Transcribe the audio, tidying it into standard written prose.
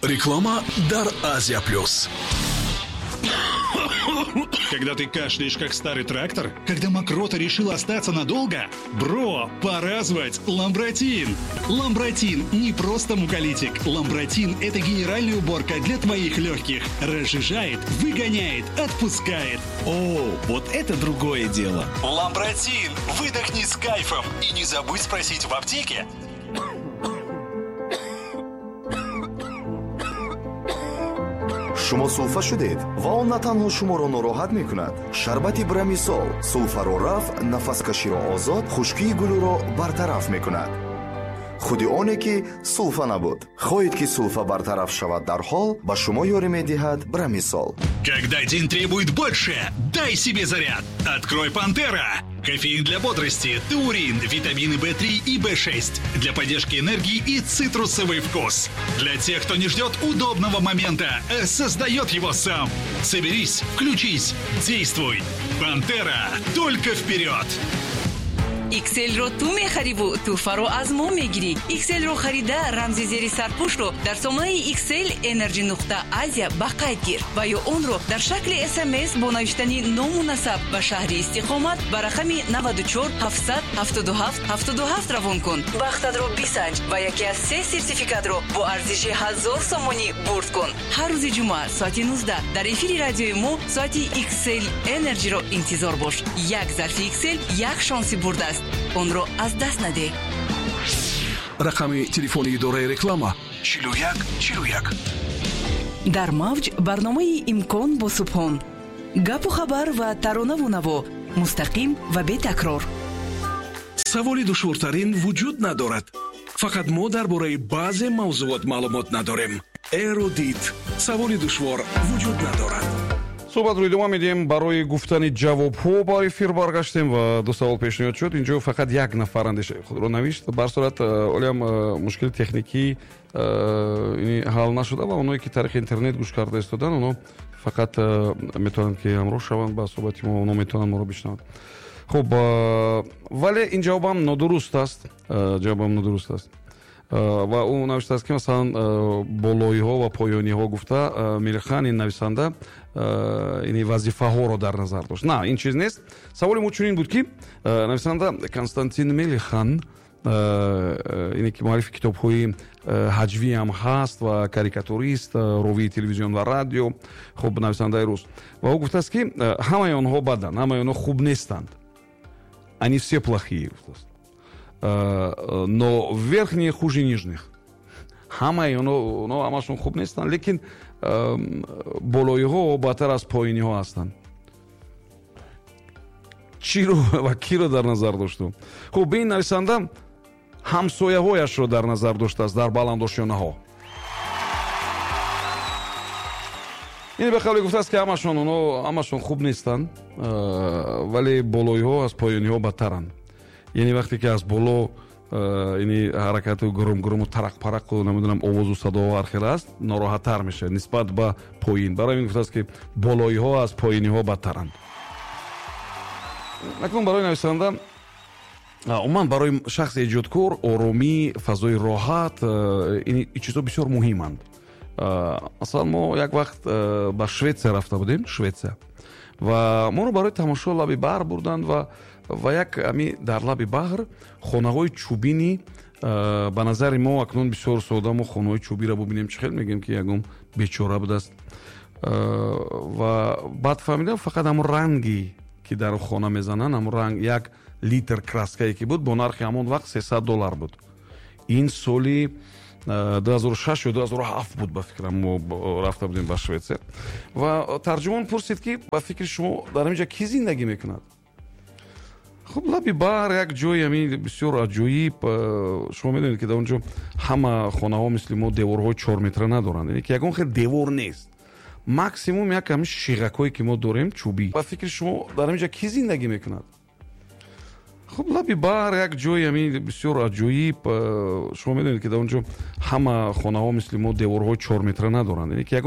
Реклама дар Азия Плюс. Когда ты кашляешь, как старый трактор? Когда мокрота решила остаться надолго? Бро, пора звать Ламбратин! Ламбратин не просто муколитик. Ламбратин – это генеральная уборка для твоих легких. Разжижает, выгоняет, отпускает. О, вот это другое дело. Ламбратин! Выдохни с кайфом и не забудь спросить в аптеке. Шумо сулфа шудед ва он на танҳо шуморо нороҳат мекунад. Шарбати Брамисол сулфаро рафъ, нафаскаширо озод, хушкии гулӯро бартараф мекунад. Худи оне ки сулфа набуд. Хоҳед ки сулфа бартараф шавад дарҳол, ба шумо ёрӣ медиҳад Брамисол. Когда день требует больше, дай себе заряд. Открой Пантера. Кофеин для бодрости, таурин, витамины В3 и В6 для поддержки энергии и цитрусовый вкус. Для тех, кто не ждет удобного момента, а создает его сам. Соберись, включись, действуй. Пантера, только вперед! XL-ро ту мехариву тӯҳфаро аз мо мегирӣ. XL-ро харида, рамзи зери сарпӯшро дар сомонаи XL Energy нуқта Азия ба қайд гир ва ё онро дар шакли СМС бо навиштани ному насаб ба шаҳри истиқомат ба рақами 94 777 77 равон кун. Бахтатро бисанҷ ва яке аз се сертификатро бо арзиши 1000 сомонӣ бурд кун. Ҳар рӯзи ҷумъа соати 19 дар эфири радиои мо соати XL Energy-ро интизор бош. Як зарфи XL як шонси бурдааст. Онро аз даст надеҳ. Рақами телефони идораи реклама 41 41. Дар мавҷ барномаи Имкон бо Субҳон. Гапу хабар ва таронаву наво мустақим ва бетакрор. Саволи душвортарин вуҷуд надорад. Фақат мо дар бораи баъзе мавзуот маълумот надорем. Эрудит. Саволи душвор вуҷуд надорад. Суҳбатро идома медиҳем. Барои гуфтани ҷавобҳо ба эфир баргаштем ва ду савол пешниҳод шуд. Инҷо фақат як нафар андешаи худро навишт. Бар сурат олиам мушкили техникӣ ҳал нашуда ва оное ки тариқи интернет гӯш карда истоданд, оно фақат метавонанд ки ҳамроҳ шаванд ба суҳбати мо, оно метавонанд моро бишнаванд. Хуб, вале ин ҷавобам нодуруст аст. Ҷавобам нодуруст аст. Ва ӯ навиштааст ки масалан болоиҳо ва поёниҳо гуфта Мелихан ин нависанда ини вазифаҳоро дар назар дошт. На, ин чиз нест. Саволи мо чунин буд ки нависанда Константин Мелихан, ине ки муаллифи китобҳои ҳаҷвиам ҳаст ва карикатурист, ровии телевизион ва радио, хуб, нависандаи рус, ва ӯ гуфтааст ки ҳамаи онҳо баданд, ҳамаи онҳо хуб нестанд. Они все плохие, гуфтааст. Но верхние хуже нижних. Ҳамаи онҳо ҳамашон хуб нестанд, лекин болоиҳо бадтар аз поиниҳо ҳастанд. Чиро ва киро дар назар дошту? Хуб, ин нависанда ҳамсояҳояшро дар назар доштааст дар баландошёнаҳо. Ин ба қавле гуфтааст ки ҳамашон онҳо ҳамашон хуб нестанд, вале болоиҳо аз поёниҳо бадтаранд. Яъне вақте ки аз боло ини ҳаракату гурум-гуруму тарақ-парақу намедонам овозу садоҳо ҳар хел аст, нороҳаттар мешавад нисбат ба поин. Барои ин гуфтааст ки болоиҳо аз поиниҳо бадтаранд. Акнун барои нависанда, умуман барои шахси эҷодкор, оромӣ, фазои роҳат, ин чизҳо бисёр муҳиманд. Масалан, мо як вақт ба Шветсия рафта будем, Шветсия, ва моро барои тамошо лаби баҳр бурданд ва як ами дар лаби баҳр хонаҳои чӯбини, ба назари мо акнун бисёр сода, мо хонаҳои чӯбиро бубинем чӣ хел мегӯем ки ягон бечора будааст. Ва баъд фаҳмидам фақат ҳамон ранги ки дар хона мезананд, ҳамон ранг як литр краскае ки буд бо нархи ҳамон вақт $300 буд. Ин соли 2006 ё 2007 буд, ба фикрам, мо рафта будем ба Шветсия. Ва тарҷумон пурсид ки ба фикри шумо дар ҳамин ҷо кӣ зиндагӣ мекунад? Хуб, лаби баҳр як ҷои ҳамин бисёр аҷоиб. Шумо медонед ки дар он ҷо ҳама хонаҳо мисли мо деворҳои 4 метра надоранд, яъне ки ягон хел девор нест. Максимум як ҳамин шиғакҳое ки мо дорем чӯбӣ. Ба фикри шумо дар ҳамин ҷо кӣ зиндагӣ мекунад? Хуб, лаби баҳр як ҷои ҳамин бисёр аҷоиб. Шумо медонед ки дар он ҷо ҳама хонаҳо мисли мо деворҳои 4 метра надоранд, яъне ки ягон